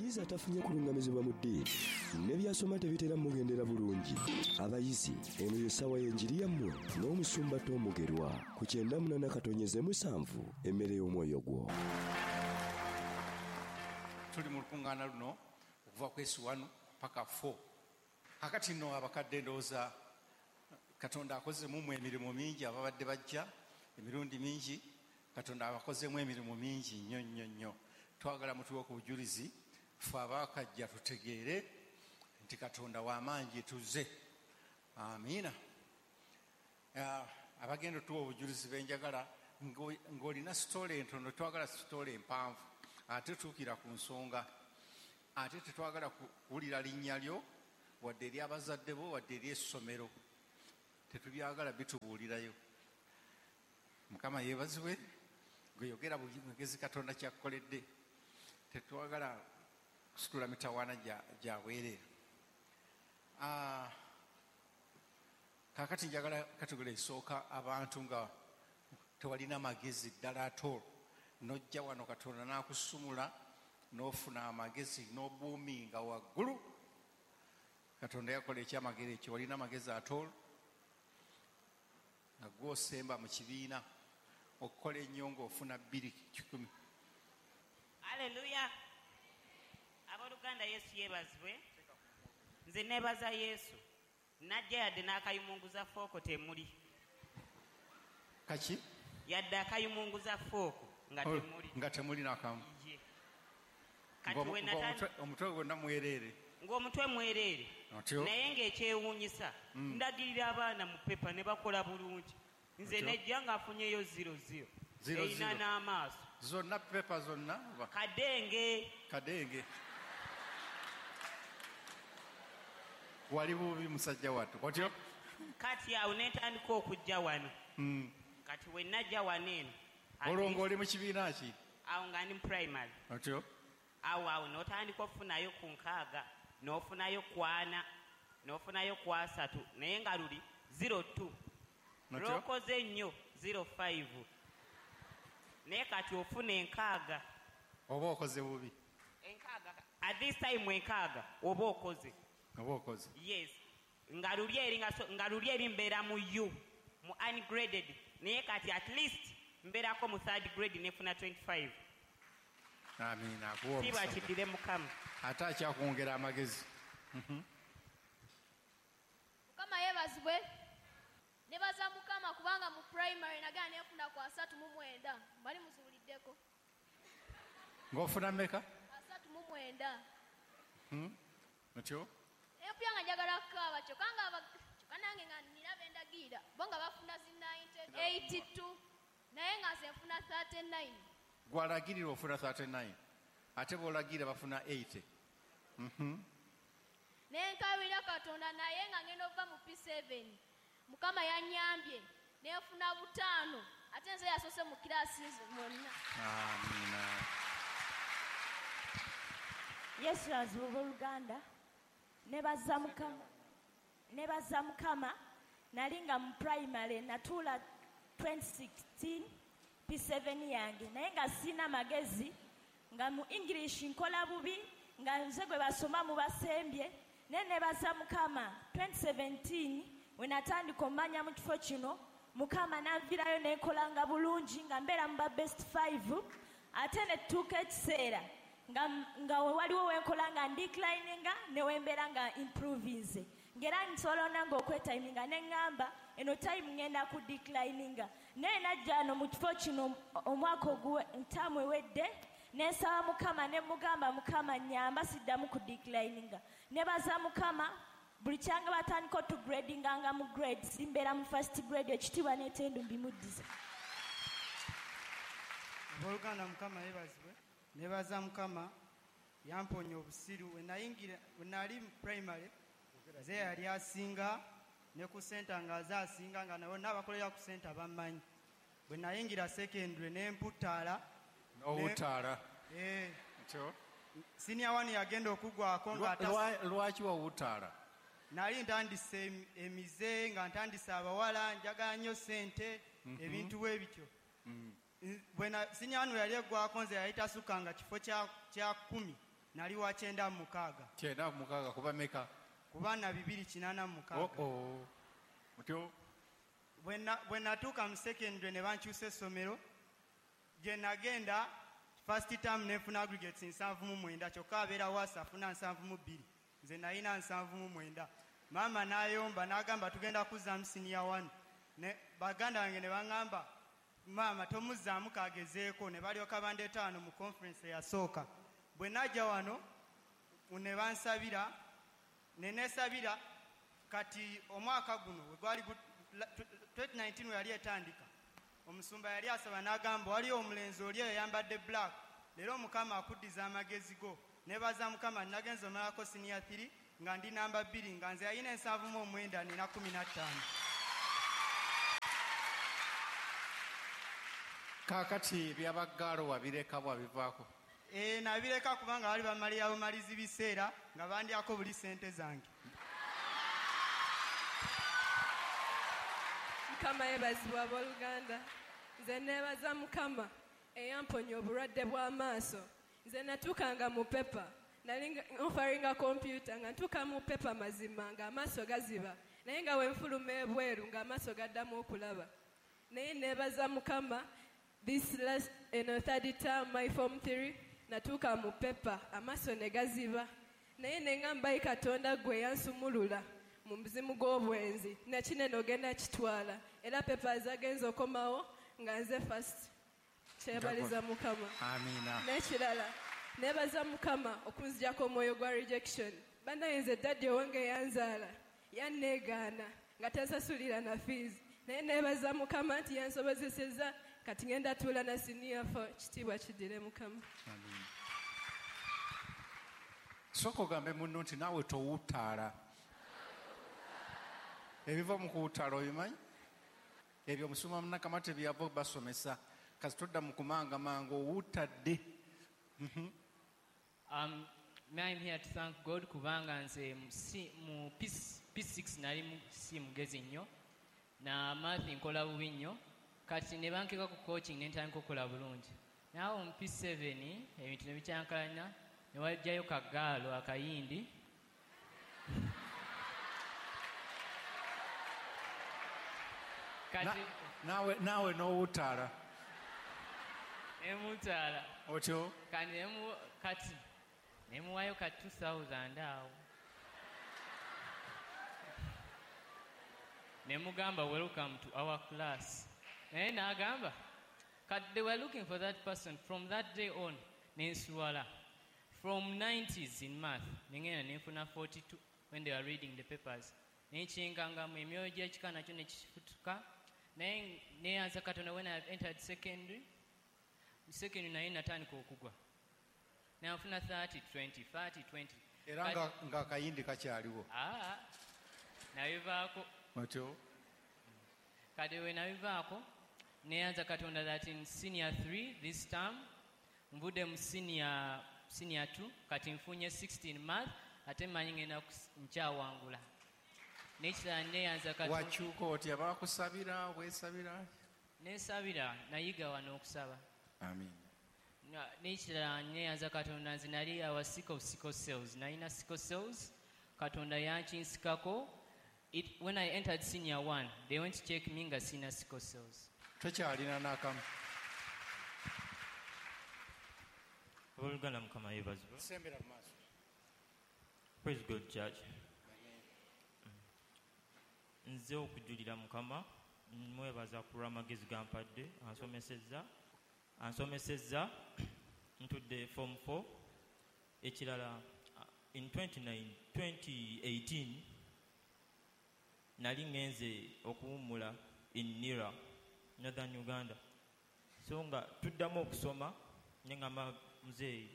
Omuyizi atafunye kulungamizibwa mu ddiini ne by'asoma tebitera mugendera bulungi. Abayizi, eno y'essaawa y'enjiri yammwe n'omusumba Tom Mugerwa ku 98.7 emmere y'omwoyo gwo. Tuli mu lukuŋŋaana luno okuva ku S1 paka 4. Kakati nno abakadde ndowooza Katonda akozemu mu emirimu mingi, ababadde bajja emirundi mingi, Katonda abakozemu emirimu mingi nnyo nnyo nnyo. Twagala mutuwe ku bujulizi ffe abaakajja tutegeere nti Katonda w'amaanyi tuzze. Amiina. Abagenda otuwa obujulizi benjagala ng'olina sitole entono, twagala sitole empanvu, ate tuukira ku nsonga, ate tetwagala kuwulira linnya lyo wadde ery'abazadde bo wadde ery'essomero, tetubyagala bitubuulirayo. Mukama yeebazibwe, gwe yogera bugezi Katonda kyakkoledde. Tetwagala kusitula mitawaana gya bwereere. Kaakati njagala kategole esooka abantu nga tewalina magezi ddala atoolo, n'ojja wano Katonda n'akusumula n'ofuna amagezi n'obuuminga waggulu. Katonda yakola ekyamagero ekyo, walina amagezi atoolo nga gw'osemba mu kibiina okukola ennyo ng'ofuna 200. Haleluya. Abooluganda, Yesu yeebazibwe. Nze neebaza Yesu, najja yadde n'akayumunguza fooko temuli. Kaki? Yadde akayumunguza fooko nga temuli. Nga temuli n'akamu. Kati omutwe gwonna mwereere. Ng'omutwe mwereere. Naye ng'ekyewuunyisa, ndagirira abaana mu pepa ne bakola bulungi. Nze nejja ng'afunyeyo 00. Erina n'amaaso. Zonna pepa zonna? Kadenge. Kadenge. Wali bubi musajja wattu. Otyo? Kati awo ne ntandika okujja wano. Kati we najja wano eno. Olwo ng'oli mu kibiina ki? Awo nga ndi mu primary. Otyo? Awo awo n'otandika okufunayo ku 6, n'ofunayo ku 4, n'ofunayo ku 3, naye nga luli 02. Lw'okoze ennyo 05. Naye kati ofuna 6. Oba okoze bubi. 6. At this time 6 oba okoze. Oba okoze. Yes. Nga luli eri mbeera mu U, mu ungraded. Naye kati at least mbeerako mu third grade nefuna 25. Amiina. Kiba kiddire Mukama. Ate akyakwongera amagezi. Mukama yeebazibwe. Nebaza Mukama kubanga mu primary nagenda nefuna ku 39. Mbali muzuuliddeko. Ng'ofuna mmeka? 39. Otyo? Empya nga njagala kukaaba kyokka nange nga nina bendagira bo nga bafuna zi 82 naye nga nze nfuna 39. Gwalagirira ofuna 39 ate bw'olagira bafuna 80. Nenkabira Katonda naye nga ngenda ova mu P7. Mukama yannyambye nenfuna 5 ate nze yasoose mu kiraasi mwonna. Amiina. Yesu azibwe abooluganda. Nebaza Mukama. Nebaza Mukama. Nali nga mu primary natuula 2016 P7 yange, naye nga sina magezi, nga mu English nkola bubi, nga nze gwe basoma mu basembye. Naye nebaza Mukama 2017 we natandika omanya mu kifo kino, Mukama nanvirayo nenkolanga bulungi nga mbeera mu ba best 5. Ate ne tutuuka ekiseera nga waliwo wenkola nga ndeclininga ne wembeera nga improvinze, ng'era nsobola nange okwetiminga ne ŋŋamba eno time ŋŋenda ku declininga. Naye najja wano mu kifo kino omwaka ntaamu ewedde, ne nsaba Mukama ne mugamba Mukama nnyamba siddamu ku declininga. Nebaza Mukama buli kyange batandika otugradinganga mu grades, mbeera mu first grade, ekitiibwa n'etendo mbimuddiza. Abooluganda, Mukama yeebazibwe. Nebaza Mukama yamponya obusiru. We nali mu primary nze yali asinga ne ku senta nga aze asinga nga nabo n'abakolera ku senta bammanyi. Bwe nayingira secondary ne mputaala. N'owutaala. Senior 1 yagenda okugwako nga lwaki wawutaala? Nali ntandise emize nga ntandise abawala, njagala nnyo sente, ebintu bwe bityo. Bwe senior 1 yali eggwako nze yali tasukanga kifo kya 10. Nali wa 96. 96 kuba meka? Ku baana 286. Oh oh. Otyo? Bwe natuuka mu secondary ne bankyusa essomero, gye nagenda first term nenfuna aggregates 79, kyokka abeera waasi afuna 72, nze nalina 79. Maama n'ayomba n'agamba tugenda kuzzaamu senior 1. Ne baganda bange ne baŋŋamba maama tomuzzaamu kagezeeko, ne balyoka bandeeta wano mu conference eyasooka. Bwe najja wano ne bansabira, ne neesabira. Kati omwaka guno we gwali 2019 we yali etandika, omusumba yali asaba n'agamba waliyo omulenzi oli eyambadde black, leero Mukama akuddiza amagezi go. Nebaza Mukama, nagenze omalako senior 3 nga ndi namba 2, nga nze yalina 79 nina 15. Kaakati ebyabaggaalo wabireka bwabivaako? Nabireka kubanga bali bamalira bumalizi biseera nga bandyako buli ssente zange. Mukama yeebazibwa abooluganda. Nze neebaza Mukama eyamponya obulwadde bw'amaaso. Nze natuukanga mu pepa, nali nfaringa kompyuta, nga ntuuka mu pepa mazima ng'amaaso gaziba, naye nga we nfuluma ebweru ng'amaaso gaddamu okulaba. Naye neebaza Mukama, this last third term my form 3 natuuka mu pepa amaaso ne gaziba, naye ne ŋŋamba Katonda gwe yansumulula mu muzimu gw'obwenzi, nakinene ogenda kitwala, era pepa zagenze okomawo nga nze first. Kyebaliza Mukama. Amina. N'ekirala neebaza Mukama okunzigyako omwoyo gwa rejection. Bannaye nze daddy owange yanzaala yanneegaana nga tansasulira na fees, naye neebaza Mukama nti yansobozesezza, kati ngenda tuula na senior 4. Kitiibwa kiddire Mukama. Amina. Sooka ogambe munno nti naawe towutaala. Ebiva mu kuwutaala obimanyi? Ebyo omusumba Munakamate byava basomesa. Kasi todda mu kumangamanga owutadde. I'm here to thank God kubanga nze mu P6 nali si mugezi nnyo, na math nkola bubi nnyo, kati ne bankeka ku coaching ne ntandika okukola bulungi. Naawe mu P7 ebintu ne bikyankalana, ne wajjayo kagaalo akayindi. Kati naawe n'owutaala. Nemutaala. Otyo? Kati nemuwayo ka 2000 awo. Nemugamba welcome to our class. Naye n'agamba kati they were looking for that person from that day on. Nensuwala. From 90s in math nengenda nenfuna 42 when they were reading the papers. Nenkingangamu emyoyo gy'ekika nakyo nekifutuka. Naye neyanza Katonda when I entered secondary. Secondary naye natandika okugwa. Nanfuna 30, 20, 30, 20. Era nga akayindi kakyaliwo. Nabivaako. Otyo? Kati we nabivaako neyanza Katonda that in senior 3 this term nvudde mu senior 2 kati nfunye 16 math, ate mmanyi ngenda nkyawangula. N'ekirala neyanza Katonda. Wakyuka otya? Baakusabira, weesabira? Neesabira, nayiga wano okusaba. Amin. N'ekirala neyanza Katonda, nze nali awa sick of sickle cells. Nalina sickle cells, Katonda yankinsikako. When I entered senior 1, they went to check me nga sina sickle cells. Tokyalina n'akamu. Abooluganda Mukama yeebazibwe. Sembera mu maaso. Praise God, Church. Nze okujulira Mukama, mwebaza ku lw'amagezi gampadde, ansomesezza ntudde form 4. Ekirala in 2018 nali ngenze okuwummula in Nira, Northern Uganda. So nga tuddamu okusoma, ne ngamba muzeeyi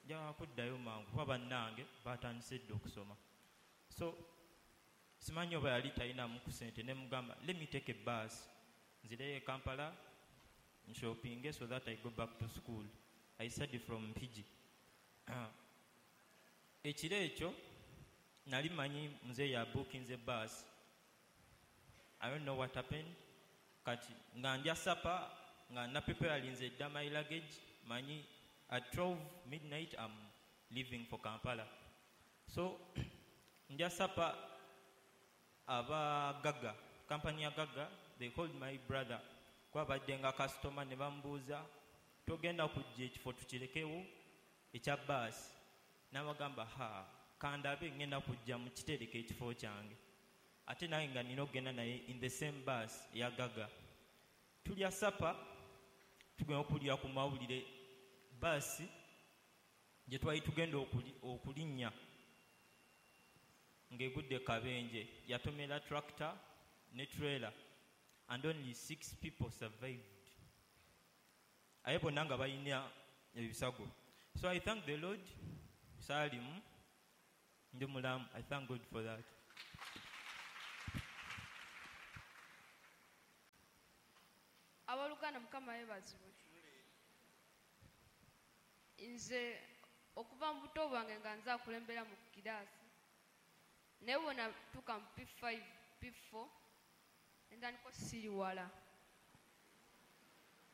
njagala kuddayo mangu kuba bannange batandise dda okusoma. So simanyi oba yali talinamu ku ssente, ne mugamba let me take a bus nzireyo e Kampala nshoppinge so that I go back to school. I study from Mpigi. Ekiro ekyo nali manyi muzeeyi yabuukinze bus. I don't know what happened. Kati nga ndya supper, nga napreparinze dda my luggage, manyi at 12 midnight I'm leaving for Kampala. So ndya supper, aba Gaga, kampani ya Gaga, they called my brother kwabadde nga customer ne bamubuuza, togenda kujja ekifo tukirekewo ekya baasi? N'abagamba, ha, kandabe, ngenda kujja mukitereke ekifo kyange. Ate nange nga nina okugenda naye in the same bus eya Gaga. Tulya supper, tugenda okulya ku mawulire, baasi gye twali tugenda okulinnya ng'egudde kabenje, yatomera tractor ne trailer and only 6 people survived. Aye bonna nga balina ebisago. So I thank the Lord, saalimu, ndi mulamu. I thank God for that. Abooluganda, Mukama yeebazibwe. Nze okuva mu buto bwange nga nze akulembera mu kiraasi, naye bwe natuuka mu P5, P4, entandika osiriwala.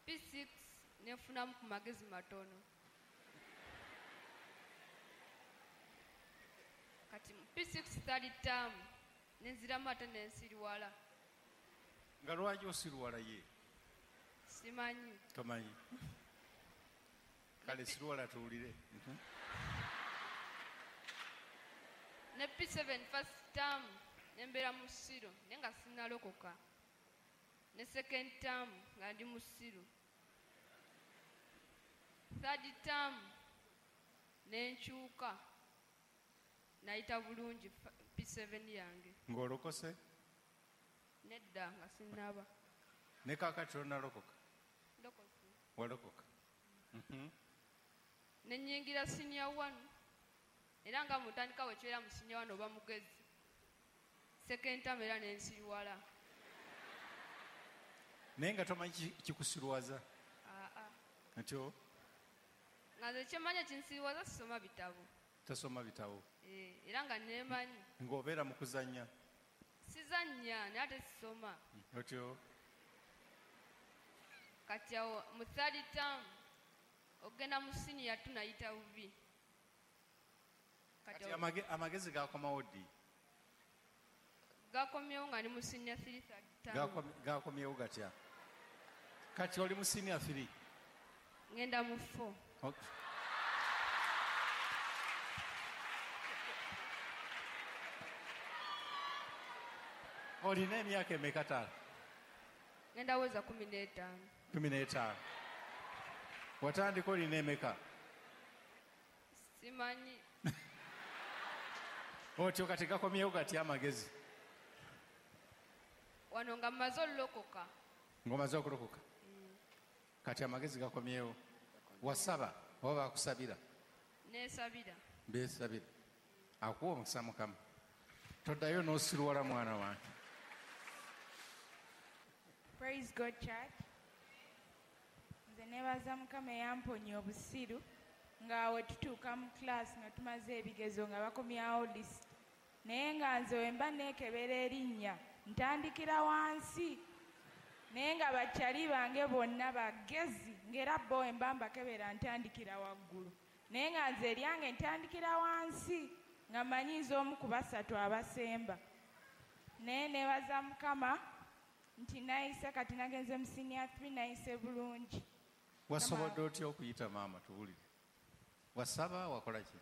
P6 nenfunamu ku magezi matono. Kati mu P6 third term nenziramu ate nensiriwala. Nga lwaki osiriwala ye? Simanyi. Tomanyi. Kale siriwala tuwulire. Ne P7 first term nembeera mu ssiro naye nga sinnalokoka. Ne second term nga ndi mu ssiro. Third term nenkyuka, nayita bulungi P7 yange. Ng'olokose? Nedda, nga sinnaba. Ne kaakati tonnalokoka? Ndokose. Walokoka. Ne nnyingira senior 1, era nga mutandika wekibeera mu senior 1 oba mugezi. Second term era nensiriwala. Naye nga tomanyi kikusiruwaza? Aa. Ntyo? Nga nze kyemanyi ekinsiriwaza sisoma bitabo. Tosoma bitabo. Era nga neemanyi. Ng'obeera mu kuzannya? Sizannya naye ate sisoma. Otyo? Kati awo mu third term ogenda mu senior 2 nayita bubi. Kati amagezi gakomawo ddi? Gakomyewo nga ndi mu senior 3 third term. Gakomyewo gatya? Kati oli mu senior 3? Ngenda mu 4. Okay. Olina emyaka emeka taata? Ngenda weza 15. 15. Watandika olina emeka? Simanyi. Otyo kati gakomyewo gatya amagezi? Wano nga mmaze olulokoka. Ng'omaze okulokoka? Kati amagezi gakomyewo. Wasaba oba bakusabira? Neesabira. Beesabira. Akuwa omukisa Mukama. Toddayo n'osiruwala mwana wange. Praise God, church. Nze neebaza Mukama eyamponya obusiru, nga we tutuuka mu class nga tumaze ebigezo nga bakomyawo list, naye nga nze we mba neekebera erinnya ntandikira wansi, naye nga bakyali bange bonna bagezi, ng'era bo we mba mbakebera ntandikira waggulu, naye nga nze eryange ntandikira wansi nga mmanyiiza omu ku basatu abasemba. Naye neebaza Mukama nti nayise, kati nagenze mu senior 3 nayise bulungi. Wasobodde otya okuyita maama, tuwulire? Wasaba, wakola ki?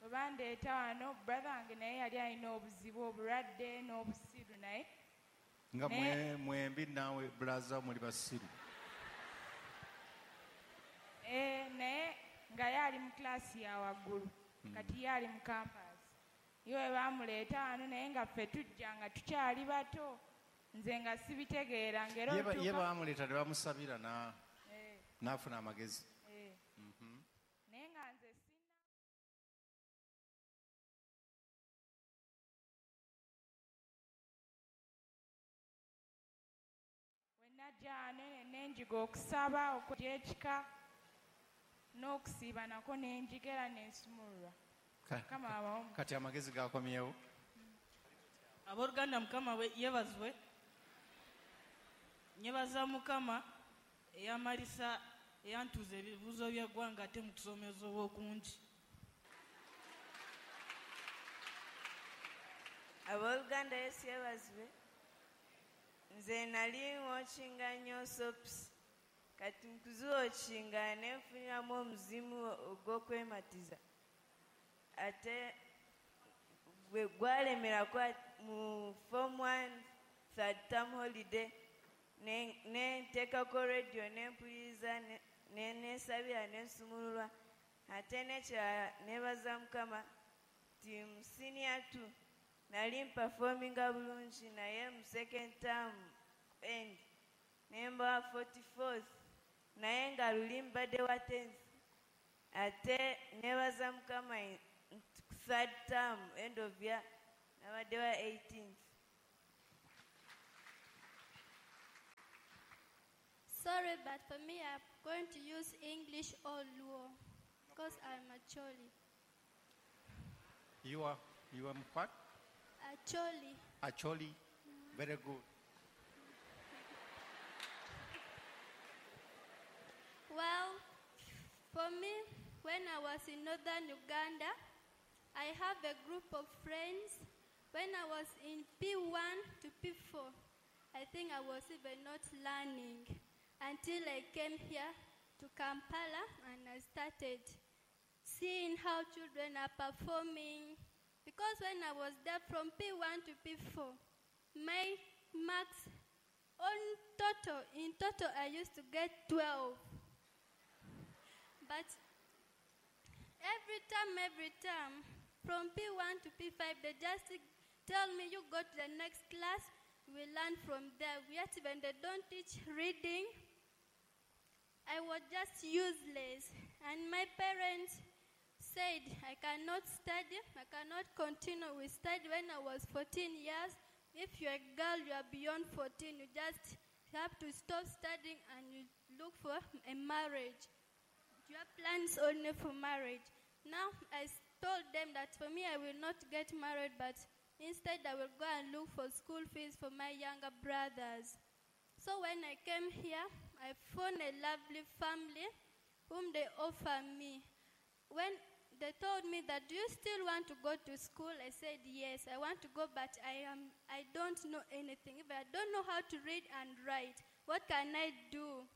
Bwe bandeeta wano, brother wange naye yali alina obuzibu, obulwadde n'obusiru, naye nga mwembi naawe brother muli basiru. Naye nga ye ali mu class ya waggulu, kati ye ali mu campus. Ye we bamuleeta wano, naye nga ffe tujja nga tukyali bato, nze nga sibitegeera, ng'era ye bamuleeta ne bamusabira n'afuna amagezi. Naye nga nze we najja wano nenjiga okusaba okw'ekika n'okusiiba nako nenjiga era nensumululwa. Kati amagezi gakomyewo. Abooluganda, Mukama yeebazibwe. Nyebaza Mukama eyamalisa, eyantuuza ebibuuzo by'eggwanga ate mu kusomesa okungi. Abooluganda, Yesu yeebazibwe. Nze nali nwatchinga nnyo soaps, kati nkuziwatchinga nenfuniramu omuzimu ogw'okwematiza, ate gwe gwalemerako mu form 1 third term holiday, nenteekako radio nempuliriza, nensabira, nensumululwa. Ate nekirala, nebaza Mukama nti mu senior 2 nali mpafominga bulungi, naye mu second term end nemba 44th, naye nga luli mbadde wa 10th. Ate nebaza Mukama nti third term end of year nabadde wa 18th. Sorry, but for me, I'm going to use English or Luo because I'm Acholi. You are what? Acholi. Acholi. Very good. Well, for me, when I was in northern Uganda, I have a group of friends. When I was in P1 to P4, I think I was even not learning until I came here to Kampala and I started seeing how children are performing. Because when I was there from P1 to P4, my marks on total, in total, I used to get 12. But every time, from P1 to P5, they just tell me, you go to the next class, we learn from there. Yet even they don't teach reading. I was just useless. And my parents said, I cannot study, I cannot continue with study. When I was 14 years, if you're a girl, you are beyond 14, you just have to stop studying and you look for a marriage. You have plans only for marriage. Now, I told them that for me, I will not get married, but instead I will go and look for school fees for my younger brothers. So when I came here, I found a lovely family whom they offered me. When they told me that, do you still want to go to school? I said, yes, I want to go, but I don't know anything. If I don't know how to read and write, what can I do?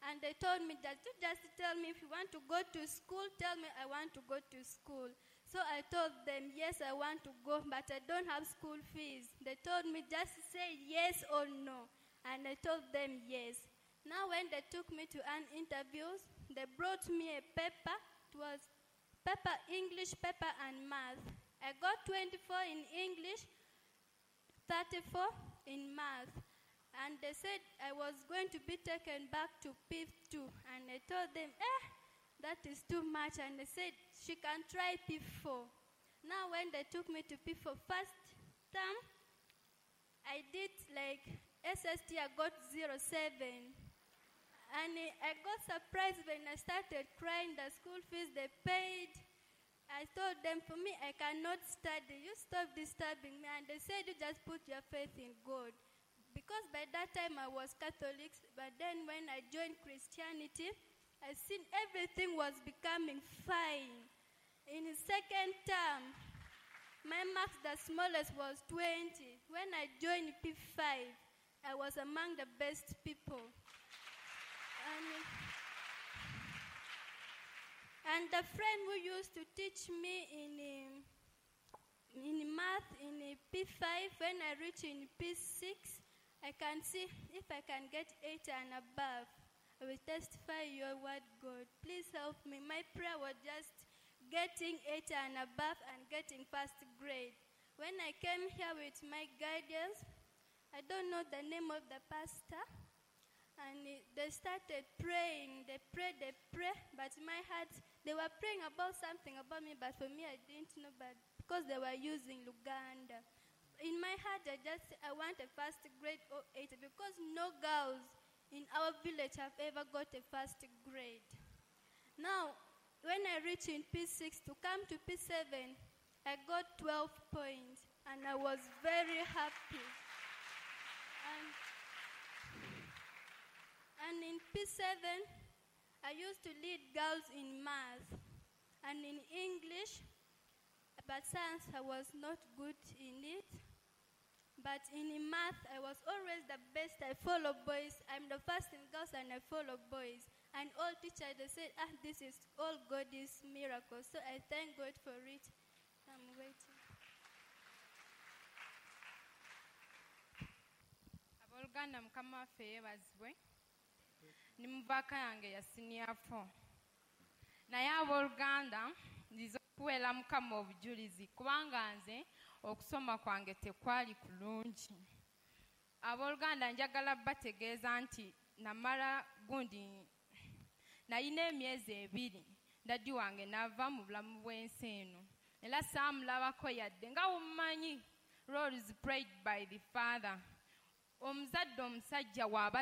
And they told me that you just tell me if you want to go to school, tell me I want to go to school. So I told them, yes, I want to go, but I don't have school fees. They told me just say yes or no. And I told them yes. Now when they took me to an interview, they brought me a paper. It was paper, English paper and math. I got 24 in English, 34 in math. And they said I was going to be taken back to P2. And I told them, that is too much. And they said, she can try P4. Now when they took me to P4 first term, I did like SST, I got 07. And I got surprised when I started crying, the school fees they paid. I told them, for me, I cannot study. You stop disturbing me. And they said, you just put your faith in God. Because by that time I was Catholic, but then when I joined Christianity, I seen everything was becoming fine. In the second term, my marks, the smallest, was 20. When I joined P5, I was among the best people. And the friend who used to teach me in math in P5, when I reached in P6, I can see if I can get 8 and above. I will testify your word, God. Please help me. My prayer was just getting 8 and above and getting first grade. When I came here with my guidance, I don't know the name of the pastor, and they started praying. They prayed, but my heart, they were praying about something about me, but for me, I didn't know, but because they were using Luganda. In my heart, I want a first grade or 8, because no girls in our village have ever got a first grade. Now, when I reached in P6 to come to P7, I got 12 points, and I was very happy. And in P7, I used to lead girls in math and in English, but science I was not good in it. But in math, I was always the best. I follow boys. I'm the first in girls and I follow boys. And all teachers, they said, this is all God's miracle. So I thank God for it. I'm waiting. Abooluganda, Mukama waffe yeebazibwe. Ndi mu vac yange ya senior 4, naye abooluganda, nziza okuweera Mukama obujulizi kubanga nze okusoma kwange tekwali kulungi. Abooluganda, njagala bategeeza nti namala gundi nalina emyezi 2, daddy wange n'ava mu bulamu bw'ensi eno, era saamulabako yadde. Nga wummanyi, roles played by the father, omuzadde omusajja waaba